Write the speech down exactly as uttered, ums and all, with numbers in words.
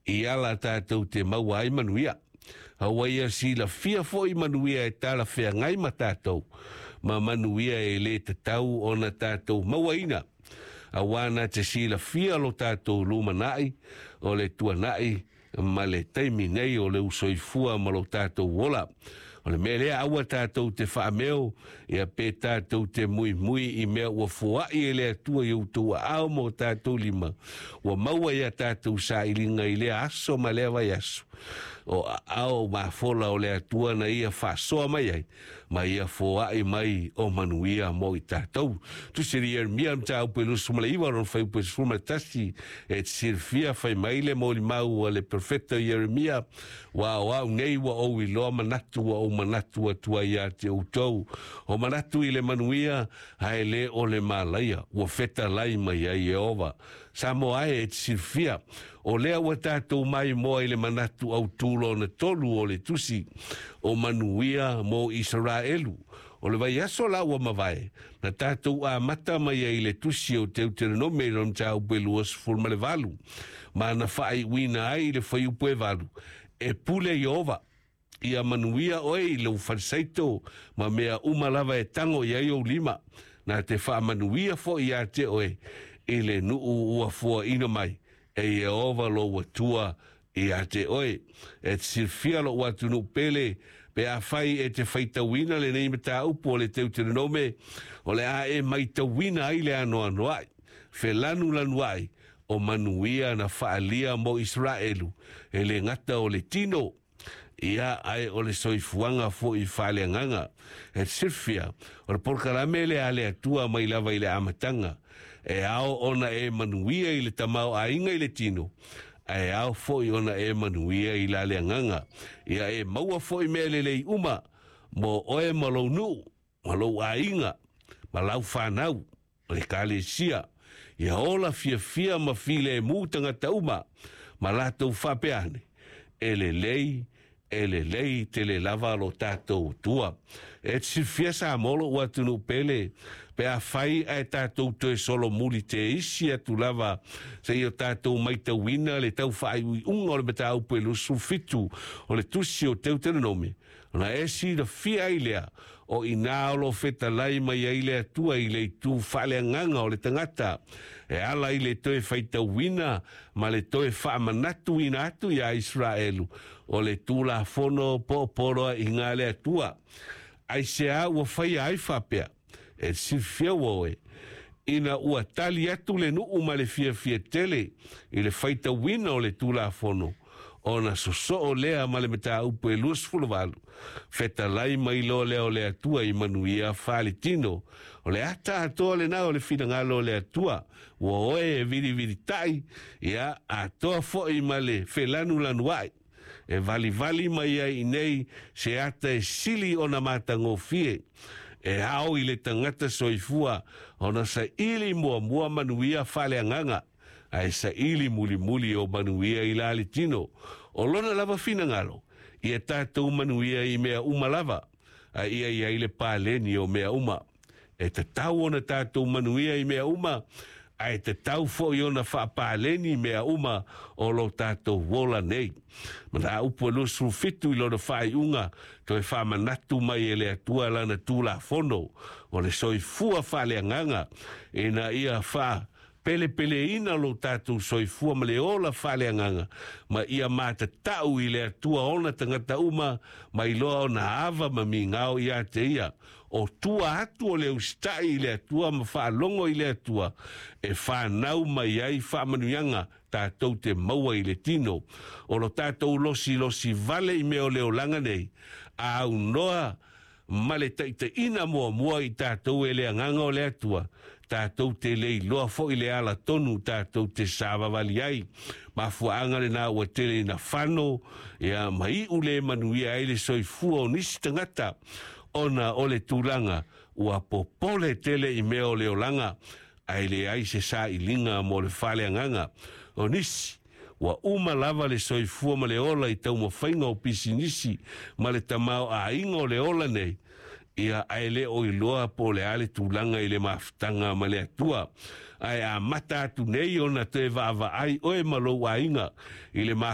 I ala tātou te maua ai manuia. Aua ia silafia foʻi manuia e talafeagai ma tatou, ma manuia e lē tatau ona tatou mauaina. Auā na te silafia lo tatou lumanaʻi o le tuanaʻi ma le taimi nei o le usoifua ma lo tatou ola. O le mea lea aua tatou te faameo, ia pe tatou te muimui i mea ua foaʻi e le Atua i outou aao ma o tatou lima. Ua maua ia tatou sailiga i lea aso ma lea vaiaso. O aao mafola o le Atua na ia faasoa mai ai, ma ia foaʻi mai o manuia mo i tatou. Tusi a Ieremia mataupu e luasefulu ma le iva lona fuaiupu e sefulu ma le tasi e te silafia fai mai le molimau a le perofeta Ieremia, ua o au nei ua ou iloa manatu ua ou manatu atu ai ia te outou. O manatu i le manuia, ae lē o le malaia, ua fetalai mai ai Ieova. Samoa e, e te silafia, o lea ua tatou maimoa i le manatu autū lona tolu o le tusi o manuia mo Isaraelu. O le vaiaso la ua mavae, na tatou amata mai ai i le tusi o Teuteronome i lona mataupu e luasefulu ma le valu, ma na faaiuina ai i le fuaiupu e valu, e pule Ieova, ia manuia oe i lou falesaito ma mea uma lava e tago i ai ou lima, na te faamanuia foʻi iā te oe i le nuu ua fuaina mai e Ieova lou Atua iā te oe. E te silafia loʻu atunuu pele, pe afai e te faitauina lenei mataupu o le Teuteronome, o le a e maitauina ai le anoanoaʻi, felanulanuaʻi o manuia na faaalia mo Isaraelu, e lē gata o le tino, ia ae o le soifuaga foʻi faaleagaga. E te silafia, o le polokalame lea a le Atua mai lava i le amataga, e ao ona e manuia i le tamaoaiga i le tino, ae ao foʻi ona e manuia i la le agaga. Ia e maua foʻi mea lelei uma mo oe ma lou nuu, ma lou aiga, ma lau fanau, ma le ekalesia. Ia ola fiafia ma filemu tagata uma, ma latou faapea ane, e lelei, e lelei tele lava lo tatou Atua. E te silafia Samoa loʻu atunuu pele, pe afai ae tatou toe solomuli te isi atu lava seia tatou maitauina le tau faaiuiuga o le mataupu e luasefulu fitu o le tusi o Teuteronome, ona e silafia ai lea o inā o lo o fetalai mai ai le Atua i le itu faaleagaga o le tagata e ala i le toe faitauina ma le toe faamanatuina atu iā Isaraelu o le Tulafono poopoloaiga a le Atua. Aiseā ua faia ai faapea? E te silafia ua oe, ina ua tali atu le nuu ma le fiafia tele i le faitauina o le Tulafono, ona sosoo lea ma le mataupu e luasefulu valu, fetalai mai loa lea o le Atua i manuia faaletino. O le ata atoa lenā o le finagalo o le Atua, ua oe e vilivilitaʻi, ia atoa foʻi ma le felanulanuaʻi. E valivali mai ai iinei se ata e sili ona matagofie. E ao i le tagata soifua ona saili muamua manuia faaleagaga, ae saili mulimuli o manuia i la le tino. O lona lava finagalo, ia tatou manuia i mea uma lava, a ia i ai le paleni o mea uma. E tatau ona tatou manuia i mea uma, ae tatau foʻi ona faapaleni mea uma o lo tatou ola nei. Mataupu e luasefulu fitu i lona faaiuga, toe faamanatu mai e le Atua lana Tulafono o le soifua faaleagaga ina ia faapelepeleina lo tatou soifua ma le ola faaleagaga, ma ia matatau i le Atua ona tagata uma ma iloa ona ava ma migao iā te ia. O tua atu o le usitaʻi i le Atua ma faalogo i le Atua e fanau mai ai faamanuiaga tatou te maua i le tino. O lo tatou losilosi vale i mea o le olaga nei, a aunoa ma le taitaiina muamua i tatou e le Agaga o le Atua, tatou te le iloa foʻi le ala tonu tatou te savavali ai. Mafuaaga lenā ua tele ina fano ia ma iʻu lē manuia ai le soifua o nisi tagata, ona o le tulaga ua popole tele i mea o le olaga, ae leai se sailiga mo le faaleagaga. O nisi, ua uma lava le soifua ma le ola i taumafaiga o pisinisi ma le tamaoaiga o le ola nei, ia ae lē o iloa po o le a le tulaga i le mafutaga ma le Atua. Ae amata atu nei ona toe vaavaai oe ma lou aiga i le